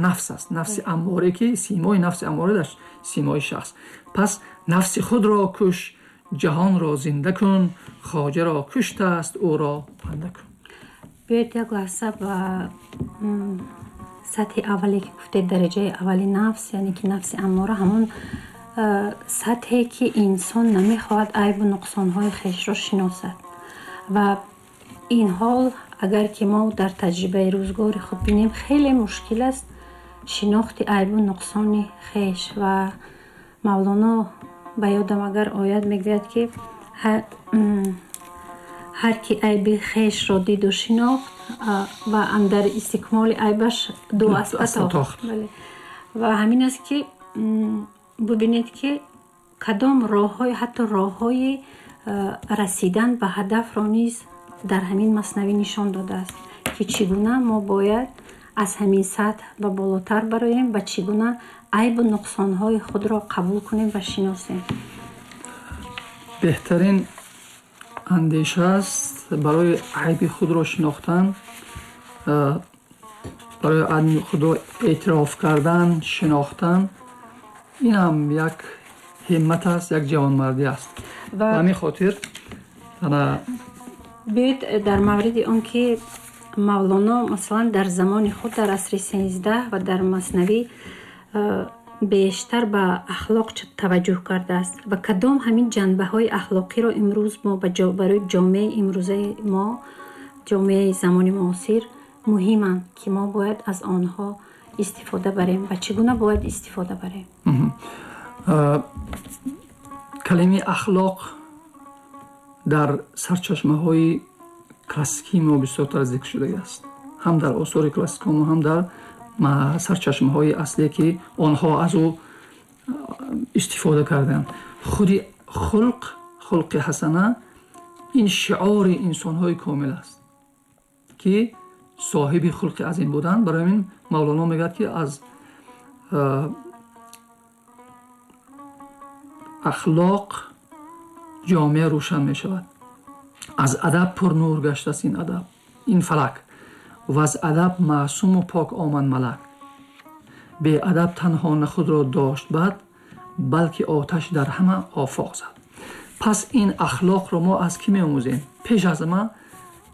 нафс аст, нафси амморе, ки симои нафси амморе дар симои шахс. Пас нафси худро куш, ҷаҳонро зинда кун, хоҷаро куштааст, ӯро банда кун. Биёед як лаҳза ба сатҳи аввале, ки гуфтед, дараҷаи аввали нафс, яъне ки нафси аммора, ҳамон сатҳе, ки инсон намехоҳад айбу нуқсонҳои хешро шиносад. Ва ин ҳол, агар ки мо дар таҷрибаи рӯзгори худ бинем, хеле мушкил аст шинохти айбу нуқсони хеш. Ва Мавлоно, ба ёдам агар ояд, мегӯяд, ки ҳар ки айби хешро диду шинохт ва андар истикмоли айбаш ду аспа тохт. Ва ҳамин аст, ки бубинед, ки кадом роҳҳои, ҳатто роҳҳои расидан ба ҳадафро низ дар ҳамин маснавӣ нишон додааст, ки чӣ гуна мо бояд аз ҳамин сатҳ ба болотар бароем ва чӣ гуна айбу нуқсонҳои худро қабул кунем ва шиносем. Беҳтарин андеша аст барои айби худро шинохтан, барои айби худро эътироф кардан, шинохтан. Ин ҳам як ҳиммат аст, як ҷавонмардӣ аст. Ба ҳамин хотир Биёед дар мавриди он, ки Мавлоно, масалан, дар замони худ, дар асри 13 ва дар маснавӣ бештар ба ахлоқ таваҷҷӯҳ кардааст ва кадом ҳамин ҷанбаҳои ахлоқиро имрӯз мо барои ҷомеаи имрӯзаи мо, ҷомеаи замони муосир муҳиманд, ки мо бояд аз онҳо истифода барем ва чӣ гуна бояд истифода барем? Калимаи ахлоқ дар сарчашмаҳои классикии мо бисёртар зикр шудагиаст, ҳам дар осори классикомо, ҳам дар сарчашмаҳои аслие, ки онҳо аз ӯ истифода карданд. Худи хулқ, хулқи ҳасана, ин шиори инсонҳои комил аст, ки соҳиби хулқи азим буданд. Барои ҳамин Мавлоно мегӯяд, ки аз ахлоқ ҷомеа рӯшан мешавад, аз адаб пурнур гаштааст ин адаб, ин фалак, ва аз адаб маъсуму пок омад малак. Беадаб танҳо на худро дошт бад, балки оташ дар ҳама офоқ зад. Пас ин ахлоқро мо аз кӣ меомӯзем? Пеш аз ҳама,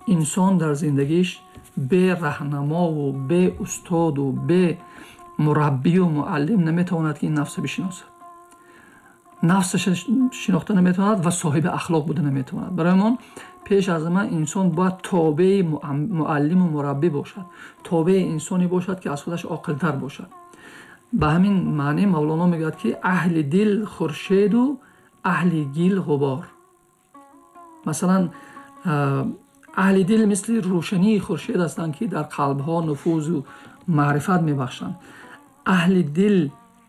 инсон дар зиндагиш бе раҳнамову бе устоду бе мураббию муаллим наметавонад, ки ин нафсро бишиносад, нафсаша шинохта наметавонад ва соҳиби ахлоқ буда наметавонад. Барои мо пеш аз ҳама инсон бояд тобеи муаллиму мураббӣ бошад, тобеи инсоне бошад, ки аз худаш оқилтар бошад. Ба ҳамин маъне Мавлоно мегӯяд, ки аҳли дил хуршеду аҳли гил ғубор. Масалан, аҳли дил мисли рӯшании хуршед ҳастанд, ки дар қалбҳо нуфузу маърифат мебахшанд. Аҳли дил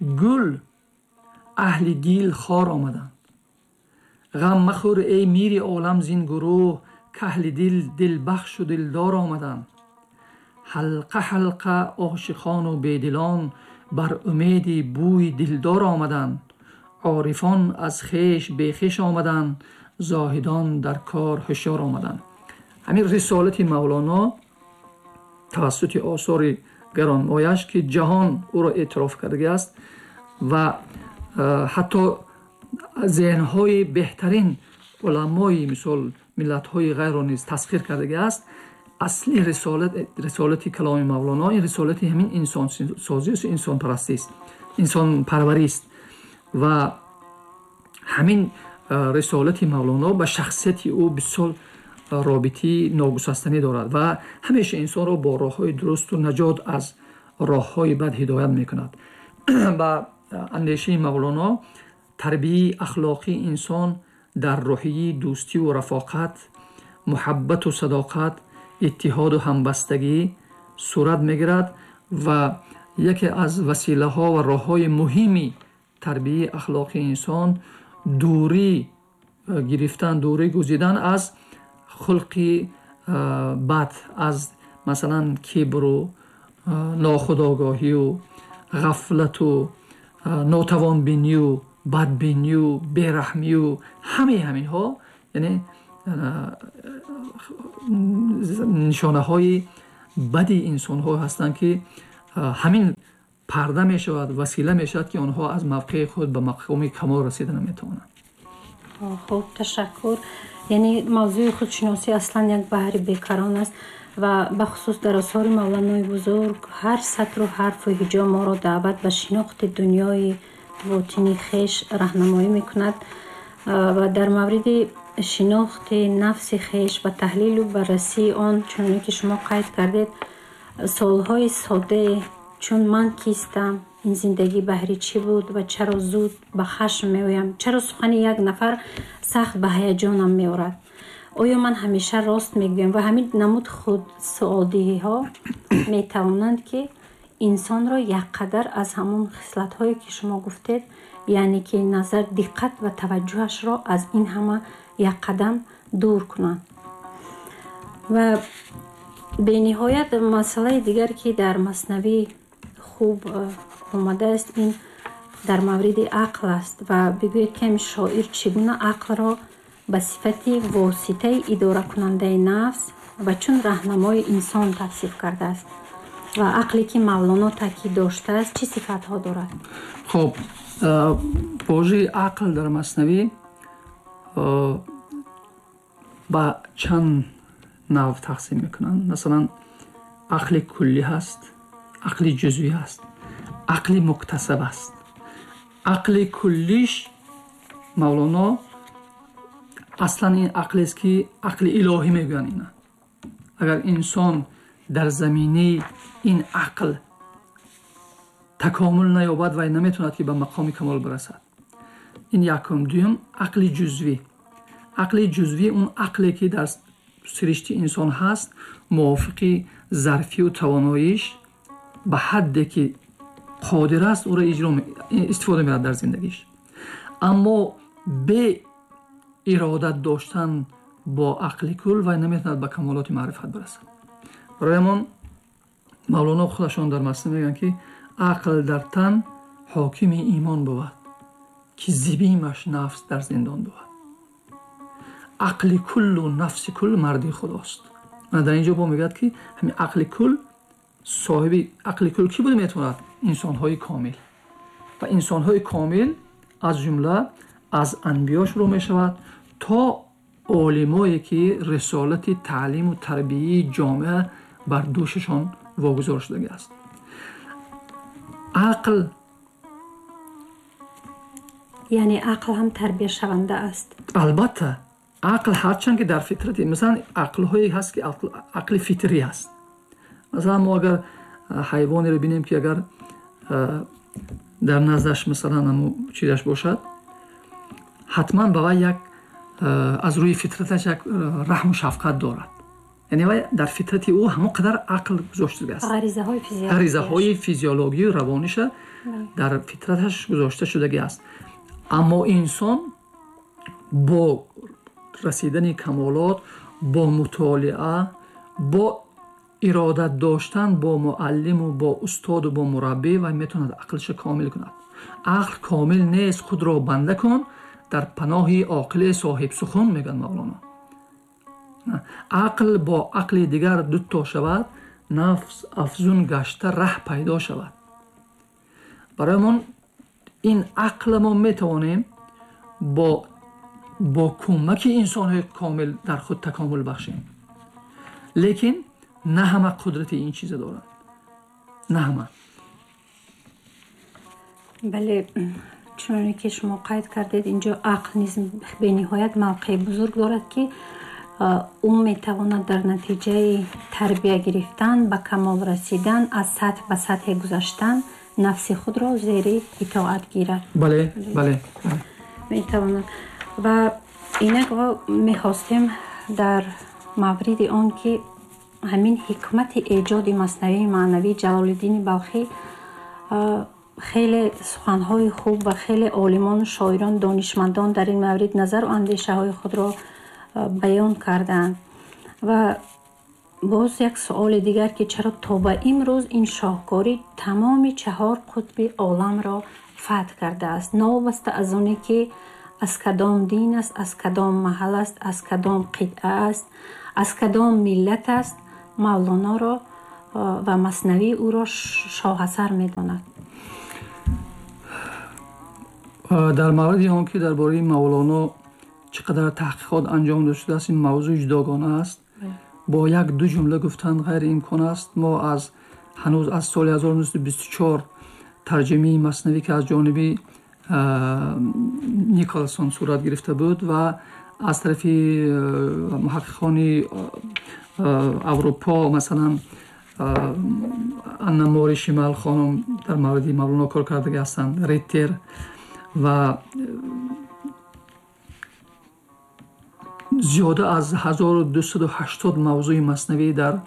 гул, аҳли гил хор омаданд. Ғам махӯр, эй мири олам, зин гурӯҳ, каҳли дил дилбахшу дилдор омаданд. Ҳалқа ҳалқа ошиқону бедилон бар умеди бӯи дилдор омаданд. Орифон аз хеш бехеш омаданд, зоҳидон дар кор ҳушёр омаданд. Ҳамин рисолати Мавлоно тавассути осори гаронмояш, ки ҷаҳон ӯро эътироф кардагиаст ва ҳатто зеҳнҳои беҳтарин уламои, мисол, миллатҳои ғайрро низ тасхир кардагиаст. Асли рисолати каломи Мавлоно ин рисолати ҳамин инсонсозист, инсонпарастист, инсонпарварист. Ва ҳамин рисолати Мавлоно ба шахсияти ӯ бисёр робитаи ногусастанӣ дорад ва ҳамеша инсонро бо роҳҳои дурусту наҷот аз роҳҳои бад ҳидоят мекунад. Ба андешаи Мавлоно, тарбияи ахлоқии инсон дар рӯҳияи дӯстиву рафоқат, муҳаббату садоқат, иттиҳоду ҳамбастагӣ сурат мегирад ва яке аз василаҳо ва роҳҳои муҳими тарбияи ахлоқии инсон дурӣ гирифтан, дурӣ гузидан аз хулқи бад, аз, масалан, кибру нохудогоҳию ғафлату нотавонбинию бадбинию бераҳмию ҳамаи ҳаминҳо, яъне нишонаҳои бади инсонҳо ҳастанд, ки Ҳамин парда мешавад, васила мешавад, ки онҳо аз мавқеи худ ба мақоми камол расида наметавонанд. Хуб, ташаккур. Яъне мавзӯи худшиносӣ аслан як баҳри бекарон аст ва бахусус дар осори Мавланои бузург ҳар сатру ҳарфу ҳиҷо моро даъват ба шинохти дунёи ботини хеш раҳнамоӣ мекунад ва дар мавриди шинохти нафси хеш ва таҳлилу баррасии он, чуноне ки шумо қайд кардед, суолҳои соддае чун ман кистам, ин зиндагӣ баҳри чӣ буд ва чаро зуд ба хашм меоям, чаро сухани як нафар сахт ба ҳаяҷонам меорад, оё ман ҳамеша рост мегӯям ва ҳамин намуд худ суолдиҳиҳо метавонанд, ки инсонро якқадар аз ҳамон хислатҳое, ки шумо гуфтед, яъне ки назар, диққат ва таваҷҷӯҳашро аз ин ҳама як қадам дур кунанд. Ва бениҳоят масъалаи дигар, ки дар Маснавӣ хуб омадааст, ин дар мавриди ақл аст. Ва бигӯед, ки ҳамин шоир чӣ гуна ақлро ба сифати воситаи идоракунандаи нафс ва чун раҳнамои инсон тавсиф кардааст ва ақле, ки Мавлоно таъкид доштааст, чӣ сифатҳо дорад? Хуб, вожаи ақл дар Маснавӣ ба чанд нав тақсим мекунанд. Масалан, ақли куллӣ ҳаст, ақли ҷузвӣ ҳаст, ақли муктасаб аст. Ақли куллиш Мавлоно аслан ин ақлест, ки ақли илоҳӣ мегӯянд ина. Агар инсон дар заминаи ин ақл такомул наёбад, вай наметавонад, ки ба мақоми камол бирасад. Ин якум. Дуюм, ақли ҷузвӣ. Ақли ҷузвӣ он ақле, ки дар сиришти инсон ҳаст, мувофиқи зарфию тавоноиш ба ҳадде ки қодир аст, ӯро иҷро истифода мебарад дар зиндагиш, аммо бе иродат доштан бо ақли кул вай наметавонад ба камолоти маърифат бирасад. Барои ҳамон Мавлоно худашон дар Маснавӣ мегӯянд, ки ақл дар тан ҳокими имон бувад, ки зибимаш нафс дар зиндон бувад. Ақли куллу нафси кул марди худост. Дар ин ҷо бо мегӯяд, ки ҳамин ақли кул, соҳиби ақли кул кӣ буда метавонад? Инсонҳои комил. Ва инсонҳои комил аз ҷумла аз анбиё шурӯъ мешавад то олимое, ки рисолати таълиму тарбияи ҷомеа бар дӯшашон вогузор шудагӣ аст. Ақл Яъне ақл ҳам тарбияшаванда аст? Албатта, ақл ҳарчанд ки дар фитрати, масалан, ақлҳое ҳаст, ки ақли фитрӣ ҳаст. Масалан, мо агар ҳайвонеро бинем, ки агар дар наздаш, масалан, ҳамун чизаш бошад, ҳатман ба вай як аз рӯи фитраташ як раҳму шафқат дорад. Яъне вай дар фитрати ӯ ҳамон қадар ақл гузоштагааст, ғаризаҳои физиологию равониша дар фитраташ гузошта шудагӣ аст. Аммо инсон бо расидани камолот, бо мутолиа, бо иродат доштан бо муаллиму бо устоду бо мураббӣ вай метавонад ақлша комил кунад. Ақл комил нест, худро банда кун дар паноҳи оқиле соҳибсухан, мегӯяд Мавлоно. Ақл бо ақли дигар дуто шавад, нафс афзун гашта раҳ пайдо шавад. Барои ин ақла мо метавонем бо кӯмаки инсонҳои комил дар худ такомул бахшем, лекин на ҳама қудрати ин чиза доранд, на ҳама. Бале, чуноне ки шумо қайд кардед, инҷо ақл низ бениҳоят мавқеи бузург дорад, ки ӯ метавонад дар натиҷаи тарбия гирифтан, ба камол расидан, аз сатҳ ба сатҳе гузаштан, нафси худро зери итоат гирад. Бале, бале. Метавонад. Ва инак мехостем дар мавриди он, ки ҳамин ҳикмати эҷоди Маснавии маънавии Ҷалолиддини Балхӣ, хеле суханҳои хуб ва хеле олимону шоирон, донишмандон дар ин маврид назару андешаҳои худро баён кардаанд. Ва боз як суоли дигар, ки чаро то ба имрӯз ин шоҳкорӣ тамоми чаҳор қутби оламро фатҳ кардааст, новобаста аз оне ки аз кадом дин аст, аз кадом маҳал аст, аз кадом қитъа аст, аз кадом миллат аст, Мавлоноро ва Маснавии ӯро шоҳасар медонад. Дар мавриди он ки дар бораи Мавлоно чӣ қадар таҳқиқот анҷом дода шудааст, ин мавзӯи ҷудогона аст. Бо як ду ҷумла гуфтан ғайриимкон аст. Мо аз ҳанӯз аз соли 1924 тарҷумаи Маснавӣ, ки аз ҷониби Николсон сурат гирифта буд ва аз тарафи муҳаққиқони Аврупо, масалан Анна Мори Шимал хонум дар мавриди Мавлоно кор кардаги ҳастанд, Риттер ва зиёда аз 1280 мавзӯи Маснавӣ дар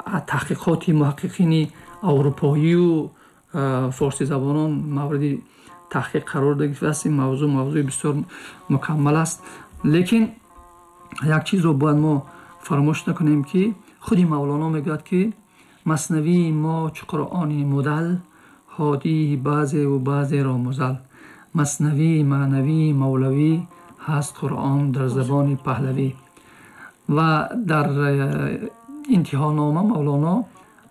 таҳқиқоти муҳаққиқини аврупоию форсизабонон мавриди таҳқиқ қарор гирифтааст. Ин мавзӯъ мавзӯи бисёр мукаммал аст. Лекин як чизро бояд мо фаромӯш накунем, ки худи Мавлоно мегӯяд, ки Маснавии мо чу Қуръони мудал, ҳодии баъзеву баъзеро музал. Маснавии маънавии мавлавӣ ҳаст Қуръон дар забони паҳлавӣ. Ва дар интиҳонома Мавлоно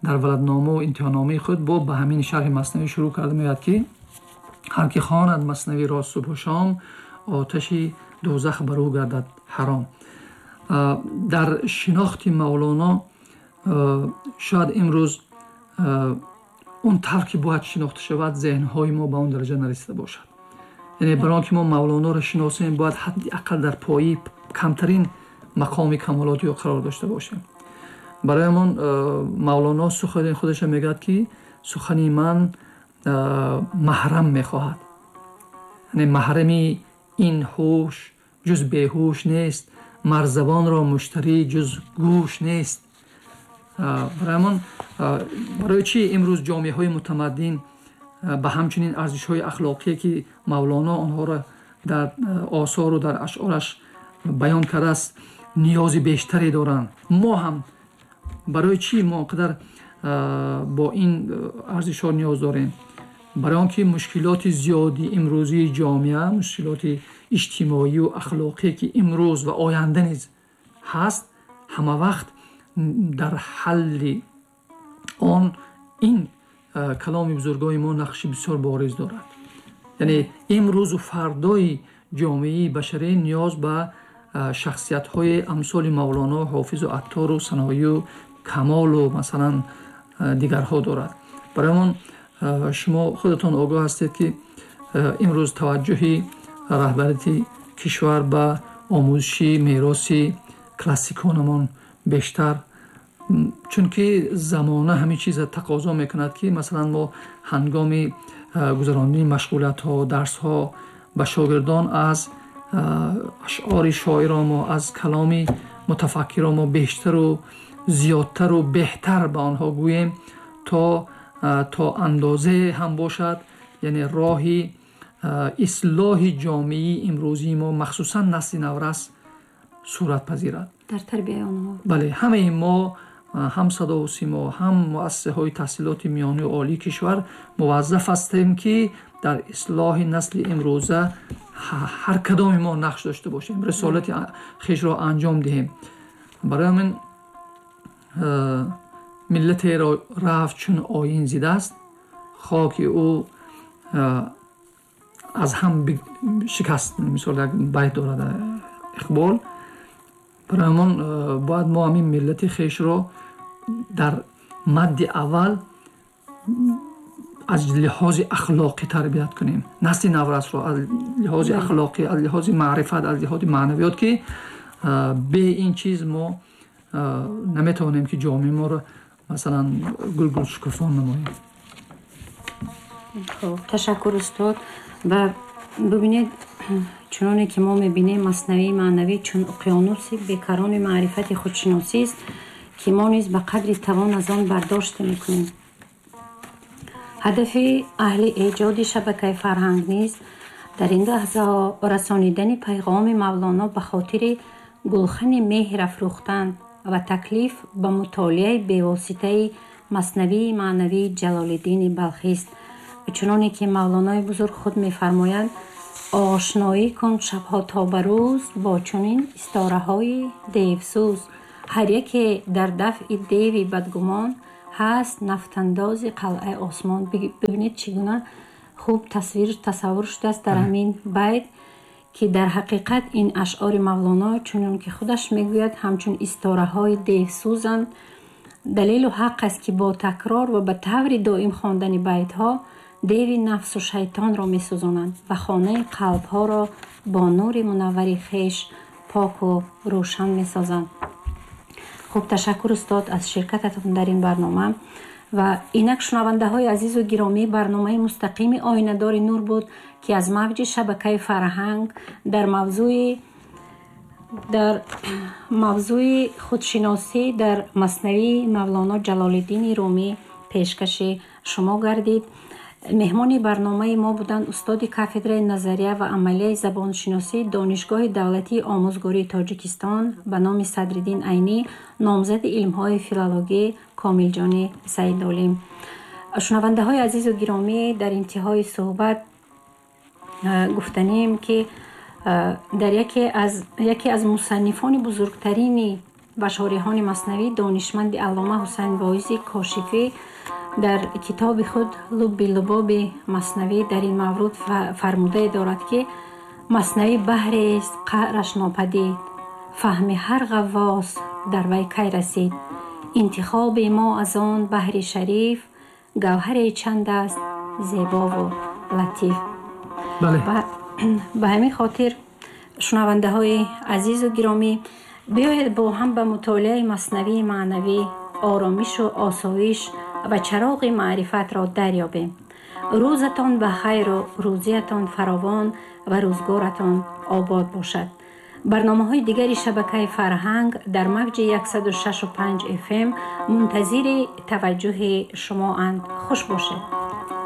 дар валадномаву интиҳономаи худ бо ба ҳамин шарҳи Маснавӣ шурӯъ карда мегӯяд, ки ҳар ки хонад Маснавиро субҳу шом, оташи дӯзах бар ӯ гардад ҳаром. Дар шинохти Мавлоно шояд имрӯз он тавр ки бояд шинохта шавад, зеҳнҳои мо ба он дараҷа нарасида бошад. Яъне барои он ки мо Мавлоноро шиносем, бояд ҳадди ақал дар пои камтарин мақоми камолоти ӯ қарор дошта бошем. Барои ҳамон Мавлоно сухани худашро мегӯяд, ки сухани ман маҳрам мехоҳад. Яъне маҳрами ин ҳуш ҷуз беҳуш нест, марзабонро муштарӣ ҷуз гӯш нест. Барои ҳамон барои чӣ имрӯз ҷомеаҳои мутамаддин ба ҳамчунин арзишҳои ахлоқие, ки Мавлоно онҳоро дар осору дар ашъораш баён кардааст, ниёзи бештаре доранд? Мо ҳам барои чӣ мо қадар бо ин арзишҳо ниёз дорем? Барои он ки мушкилоти зиёди имрӯзии ҷомеа, мушкилоти иҷтимоию ахлоқие, ки имрӯз ва оянда низ ҳаст, ҳама вақт дар ҳалли он ин каломи бузургои мо нақши бисёр бориз дорад. Яъне имрӯзу фардои ҷомеаи башарӣ ниёз ба шахсиятҳои амсоли Мавлоно, Ҳофизу Аттору Саноию Камолу масалан дигарҳо дорад. Барои ҳамон шумо худатон огоҳ ҳастед, ки имрӯз таваҷҷӯҳи раҳбарияти кишвар ба омӯзиши мероси классиконамон бештар, чунки замона ҳамин чиза тақозо мекунад, ки масалан мо ҳангоми гузарондани машғулиятҳо, дарсҳо ба шогирдон аз ашъори шоиромо, аз каломи мутафаккиромо бештару зиёдтару беҳтар ба онҳо гӯем, то андозе ҳам бошад, яъне роҳи ислоҳи ҷомеаи имрӯзии мо, махсусан насли наврас, сурат пазирад. Дар тарбияи онҳо. Бале, ҳамаи мо, ҳам садову симо, ҳам муассисаҳои таҳсилоти миёнию олии кишвар муваззаф ҳастем, ки дар ислоҳи насли имрӯза ҳар кадоми мо нақш дошта бошем, рисолати хешро анҷом диҳем. Барои ҳамин миллатеро рафт чун оин зидаст, хоки ӯ аз ҳам шикаст. Мисол як байт дорад Иқбол. Барои ҳамон бояд мо ҳамин миллати хешро дар мадди аввал аз лиҳози ахлоқӣ тарбият кунем, насли наврасро аз лиҳози ахлоқӣ, аз лиҳози маърифат, аз лиҳози маънавиёт, ки бе ин чиз мо наметавонем, ки ҷомеаи моро масалан гулгул шукуфон намоем. Хуб, ташаккур устод. Ва бибинед, чуноне ки мо мебинем, Маснавии маънавӣ чун уқёнуси бекарони маърифати худшиносист, ки мо низ ба қадри тавон аз он бардошта мекунем. Ҳадафи аҳли эҷоди шабакаи фарҳанг низ дар ин лаҳзаҳо расонидани пайғоми Мавлоно ба хотири гулхани меҳр афрӯхтан ва таклиф ба мутолиаи бевоситаи Маснавии маънавии Ҷалолиддини Балхист. Чуноне ки Мавлонои бузург худ мефармояд: ошноӣ кун шабҳо то ба рӯз бо чунин истораҳои девсӯз, ҳар яке дар дафъи деви бадгумон, ҳаст нафтандози қалъаи осмон. Бибинед, чӣ гуна хуб тасвир тасаввур шудааст дар ҳамин байт, ки дар ҳақиқат ин ашъори Мавлоно, чунон ки худаш мегӯяд, ҳамчун истораҳои девсӯзанд. Далелу ҳақ аст, ки бо такрор ва ба таври доим хондани байтҳо деви нафсу шайтонро месӯзонанд ва хонаи қалбҳоро бо нури мунаввари хеш поку рӯшан месозанд. Хуб, ташаккур, устод, аз ширкататон дар ин барнома. Ва инак, шунавандаҳои азизу гиромӣ, барномаи мустақими «Оинадори нур» буд, ки аз мавҷи шабакаи «Фарҳанг» дар мавзӯи худшиносӣ дар Маснавии Мавлоно Ҷалолиддини Румӣ пешкаши шумо гардид. Меҳмони барномаи мо буданд устоди кафедраи назария ва амалияи забоншиносии Донишгоҳи давлатии омӯзгории Тоҷикистон ба номи Садриддин Айнӣ, номзади илмҳои филологӣ Комилҷони Саидолим. Шунавандаҳои азизу гиромӣ, дар интиҳои суҳбат гуфтанием, ки дар яке аз мусаннифони бузургтарини ва шориҳони Маснавӣ, донишманди аллома Ҳусайн Воизи Кошифӣ, дар китоби худ «Лубби лубоби Маснавӣ» дар ин мавруд фармудае дорад, ки Маснавӣ баҳрест қаъраш нопадид, фаҳми ҳар ғаввос дар вай кай расид. Интихоби мо аз он баҳри шариф гавҳаре чанд аст зебову латиф. Ба ҳамин хотир, шунавандаҳои азизу гиромӣ, биёед бо ҳам ба мутолиаи Маснавии маънавӣ оромишу осоиш ва чароғи маърифатро дарёбем. Рӯзатон ба хайру рӯзиятон фаровон ва рӯзгоратон обод бошад. Барномаҳои дигари шабакаи «Фарҳанг» дар мавҷи 106,5 FM мунтазири таваҷҷӯҳи шумоанд. Хуш бошед.